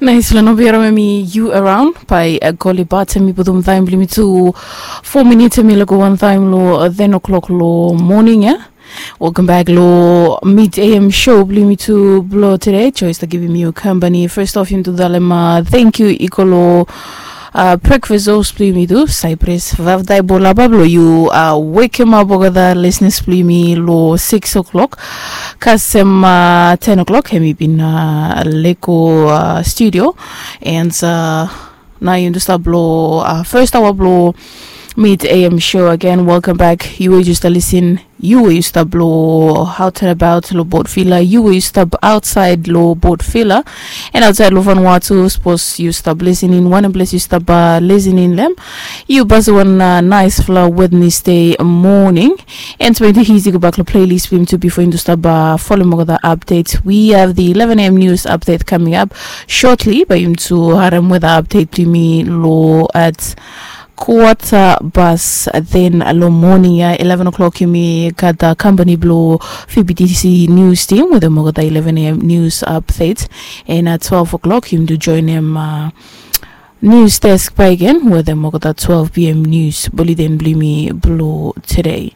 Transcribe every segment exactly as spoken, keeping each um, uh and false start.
Nais long no biara memi you around by Goli Bat, hemi putum taem blong yumi tu four minutes, hemi lago wan taem long ten o'clock long moning ia. Welcome back long mid A M show blong yumi tu blong today. Joyce ta givim yu company. First off, yumi tu talem thank you i go long breakfast host blong yumi tu, Cypress Vavdai Bolaba, blong yu wekemap olgeta listeners blong yumi long six o'clock. Kasem ten o'clock hemi bin lego studio. And nao yumi tu stap long first hour blong mid A M show again. Welcome back. Yu we yu stap lisin, yu we yu stap long out and about long Port Vila, yu we yu stap aotsaed long Port Vila and aotsaed long Vanuatu, sapos yu stap lisin in wanem ples yu stap lisin in long hem, yu pasem wan naesfala Wednesday moning. And bae yumi tu hisi gobak long playlist blong yumi tu bifo yumi tu stap folem olgeta update. We have the eleven A M news update coming up shortly, bae yumi tu harem weta update blong yumi long at kuata bas ten long moning ia. Eleven o'clock yumi gat company blong V B T C news team wetem olgeta eleven A M news update. And at twelve o'clock yumi tu joenem news desk bakegen wetem olgeta twelve P M news bulletin blong yumi blong today.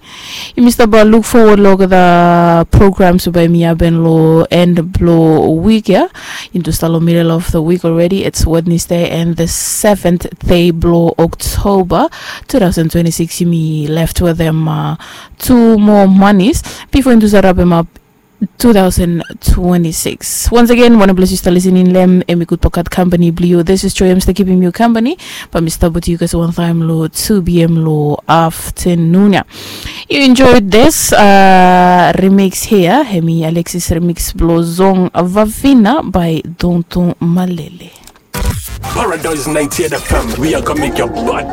Yumi stap luk fowod long olgeta programs we bae hemi hapen long end blong wik ia. Yumi tu stap long middle of the week already. It's Wednesday and the seventh day blong October two thousand twenty-six. Yumi left wetem two more manis bifo yumi tu stap rapem ap two thousand twenty-six. Once again, wanem ples yu stap lisin in long hem, hemi Gud Pakat company blong yu. This is Joy, hemi stap givim yu company. Bae mi stap wetem yu kasem wan taem long two P M long aftenun ia. You enjoyed this remix here, hemi Alexis remix blong song Vavina by Tonton Malele. Paradise ninety-eight F M, we are gonna make your body